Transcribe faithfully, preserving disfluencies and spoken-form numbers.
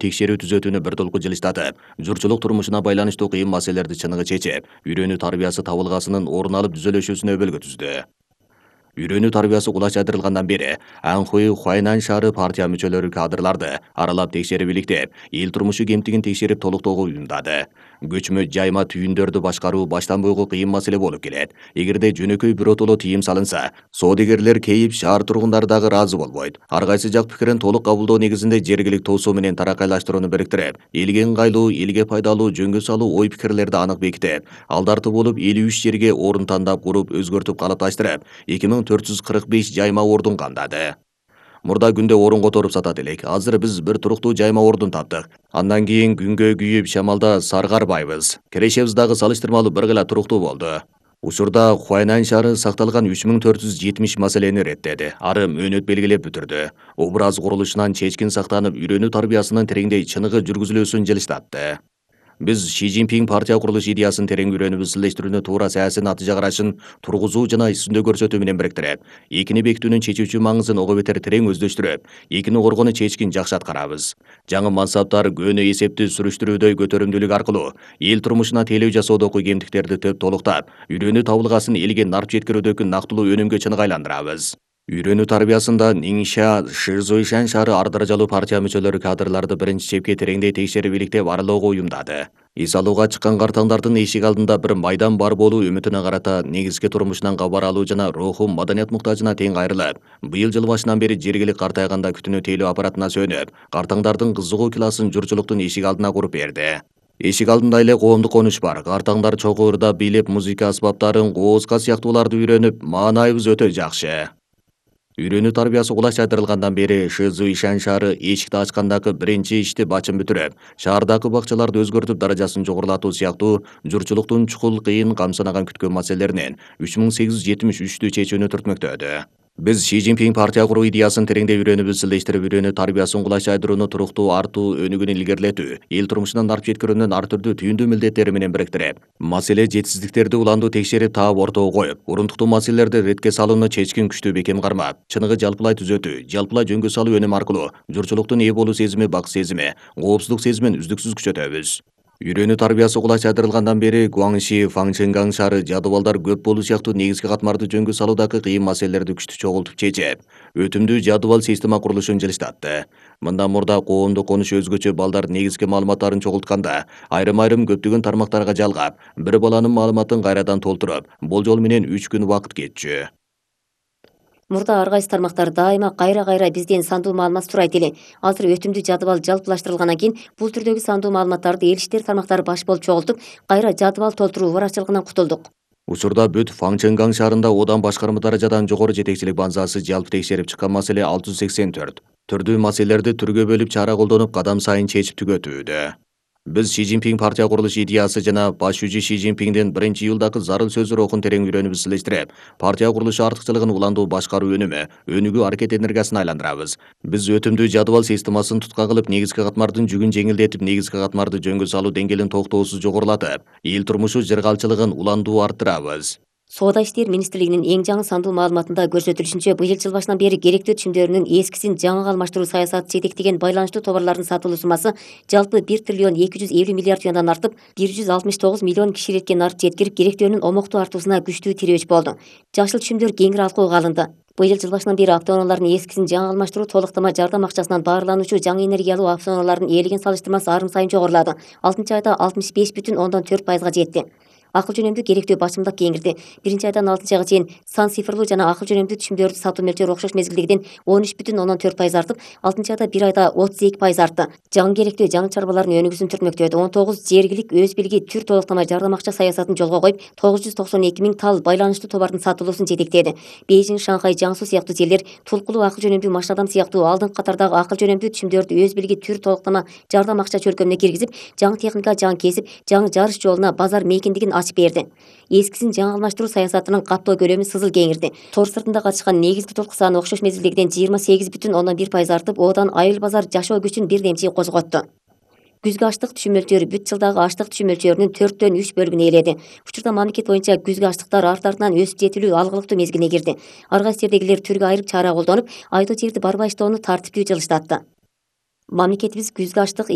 текшерүү түзөтүүнү бир толку жылыштатып, журчулук турмушуна байланыштуу кыйын маселелерди чыныгы чечип, үйрөнүү тарбиясы табылгасынын орун алып түзөлүшүүсүнө өбөлгө түздү. Үйрөнүү тарбиясы кулач айдырылгандан бери Анхуй Хуайнань шаары партия мүчөлөрү кадрларды аралап текшерип иликтеп, эл турмушу кемтигин текшерип толуктоого уюмдады. Көчмө жайма түйүндөрдү башкаруу баштан бойгу кыйын маселе болуп келет. Эгерде жөнөкөй биротоло тыйым салынса, соодагерлер кейип, шаар тургундары дагы ыраазы болбойт. Ар кайсы жак пикирин толук кабылдоо негизинде жергилик тоосуу менен таракайлаштырууну бириктирип, элге ыңгайлуу, элге пайдалуу, жөнгө салуу ой пикирлерди анык бекитип, алдарты болуп элүү үч жерге орун тандап куруп, өзгөртүп калыпташтырып, эки миң төрт жүз кырк беш жайма ордун камдады. Мурда күндө орун которуп сатат элек. Азыр биз бир туруктуу жайма ордун таптык. Андан кийин күнгө күйүп шамалда саргарбайбыз. Кирешебиз дагы салыштырмалуу бир гыла туруктуу болду. Учурда Хуайнань шаары сакталган үч миң төрт жүз жетимиш маселени реттеди. Ары мөөнөт белгилеп бүтүрдү. Образ курулушунан чечкин сактанып, үйрөнүү тарбиясынын тереңдей чыныгы жүргүзүлүүсүн жылыштатты. Биз Ши Цзиньпин партия курулуш идеясын терең үйрөнүп изилдештирүүнү туура саясий натыйжа карашын тургузуу жана үстүндө көрсөтүү менен бириктирип, экини бекитүүнүн чечүүчү маңызын ого бетер терең өздөштүрүп, экини коргоону чечкин жакшы аткарабыз. Жаңы мансаптар көөнө эсепти сүрүштүрүүдө көтөрүмдүүлүк аркылуу эл турмушуна тейлөө жасоодогу кемтиктерди төп толуктап, үйрөнүү табылгасын элге нарп жеткирүүдөгү нактылуу өнүмгө чыныгы айландырабыз. Үйрөнүү тарбиясында Ниңша, Шизуйшань шаары ар даражалуу партия мүчөлөрү кадрларды биринчи чепке тереңдей текшерип иликтеп аралоого уюмдады. Эс алууга чыккан картаңдардын эшик алдында бир майдан бар болуу үмүтүнө карата негизги турмушунан кабар алуу жана руху маданият муктажына тең кайрылып, быйыл жыл башынан бери жергилик картайганда күтүнүү тейлөө аппаратына сөнүп, картаңдардын кызыгуу классын журчулуктун эшик алдына куруп берди. Эшик алдында эле коомдук конуш бар. Картаңдар чогуу ырдап бийлеп, музыка аспаптарын, кооска сыяктууларды үйрөнүп, маанайыбыз өтө жакшы. Үйрөнүү тарбиясы кулач айдырылгандан бери Шизуйшань шаары эшикти ачкандагы биринчи ишти бачын бүтүрүп, шаардагы бакчаларды өзгөртүп даражасын жогорулатуу сыяктуу журчулуктун чукул кыйын камсынаган күткөн маселелеринен үч миң сегиз жүз жетимиш үчтү чечүүнү түртмөктөдү. Биз Ши Цзиньпин партия куруу идеясын тереңдей үйрөнүп изилдештирип, үйрөнүү тарбиясын кулач айдырууну туруктуу артуу өнүгүн илгерилетүү, эл турмушунан нарп жеткирүүнүн ар түрдүү түйүндүү милдеттери менен бириктирип, маселе жетишсиздиктерди уландуу текшерип таап ортого коюп, урундуктуу маселелерди ретке салууну чечкин күчтүү бекем кармап, чыныгы жалпылай түзөтүү, жалпылай жөнгө салуу өнүм аркылуу журчулуктун ээ болуу сезими, бак сезими, коопсуздук сезимин үздүксүз күчөтөбүз. Үйрөнүү тарбиясы кулач айдырылгандан бери Гуаңши, Фаңчэнган шаары жадыбалдар көп болуу сыяктуу негизги катмарды жөнгө салуудагы кыйын маселелерди күчтүү чогултуп чечип, өтүмдүү жадыбал система курулушун жылыштатты. Мындан мурда коомдук конуш өзгөчө балдар негизги маалыматтарын чогултканда, айрым-айрым көптөгөн тармактарга жалгап, бир баланын маалыматын кайрадан толтуруп, болжол менен үч күн убакыт кетчү. Мурда ар кайсы тармактар дайыма кайра-кайра бизден сандуу маалымат сурайт эле. Азыр өтүмдүү жадыбал жалпылаштырылгандан кийин бул түрдөгү сандуу маалыматтарды эл иштер тармактары баш болуп чогултуп, кайра жадыбал толтуруу баракчылыгынан кутулдук. Учурда бүт Фаңчэнган шаарында одан башкарма даражадан жогору жетекчилик базасы жалпы текшерип чыккан маселе алты жүз сексен төрт. Түрдүү маселелерди түргө бөлүп чара колдонуп, кадам сайын чечип түгөтүүдө. Биз Ши Цзиньпин партия курулуш идеясы жана баш жүзү Ши Цзиньпиндин биринчи июлдагы зарыл сөзү рухун терең үйрөнүп изилдештирип, партия курулушу артыкчылыгын уландуу башкаруу өнүмү, өнүгүү аракет энергиясын айландырабыз. Биз өтүмдүү жадыбал системасын тутка кылып, негизги катмардын жүгүн жеңилдетип, негизги катмарды жөнгө салуу деңгээлин токтоосуз жогорулатып, эл турмушу жыргалчылыгын уландуу арттырабыз. Соода иштер министрлигинин эң жаңы сандуу маалыматында көрсөтүлүшүнчө, быйыл жыл башынан бери керектүү түшүмдөрүнүн эскисин жаңыга алмаштыруу саясаты жетектеген байланыштуу товарлардын сатылуу суммасы жалпы бир триллион эки жүз элүү миллиард юандан артып, бир жүз алтымыш тогуз миллион кишилекке нарп жеткирип, керектөөнүн омоктуу артуусуна күчтүү тирөөч болду. Жашыл түшүмдөр кеңири алкууга алынды. Быйыл жыл башынан бери автоунаалардын эскисин жаңы алмаштыруу толуктама жардам акчасынан баарлануучу жаңы энергиялуу автоунаалардын ээлеген салыштырмасы арын сайын жогорулады. алтынчы айда алтымыш беш бүтүн ондон төрт пайызга жетти. Акыл жөнөмдүү керектөө бачымдык кеңирди. Биринчи айдан алтынчы айга чейин сан цифрлуу жана акыл жөнөмдүү түшүмдөрдү сатуу мөлчөрү окшош мезгилдегиден он үч бүтүн ондон төрт пайыз артып, алтынчы айда бир айда отуз эки пайыз артты. Жаңы керектөө жаңы чарбалардын өнүгүүсүн түртмөктөдү. он тогуз жергилик өз билги түр толуктама жардам акча саясатын жолго коюп, тогуз жүз токсон эки миң тал байланыштуу товардын сатылуусун жетектеди. Бейжиң, Шанхай, Жаңсу сыяктуу жерлер тулкулуу акыл жөнөмдүү машинадам сыяктуу алдыңкы катардагы акыл жөнөмдүү түшүмдөрдү өз билги түр толуктама жардам акча чөлкөмүнө киргизип, жаңы техника, жаңы кесип, жаңы жарыш жолуна базар мейкиндигин ачып берди. Эскисин жаңы алмаштыруу саясатынын каттоо көлөмү сызыл кеңирди. Тор сыртында катышкан негизги толку саны окшош мезгилдегиден жыйырма сегиз бүтүн ондон бир пайыз артып, одан айыл базар жашоо күчүн бир демчи козготту. Күзгү аштык түшүм мөлчөрү бүт жылдагы аштык түшүм мөлчөрүнүн төрттөн үч бөлүгүн ээледи. Учурда мамлекет боюнча күзгү аштыктар арт-артынан өсүп жетилүү алгылыктуу мезгилине кирди. Ар кайсы жердегилер түргө айырып чара колдонуп, айдоо жерди барбайыштоону тартиптүү жылыштатты. Мамлекетибиз күзгү аштык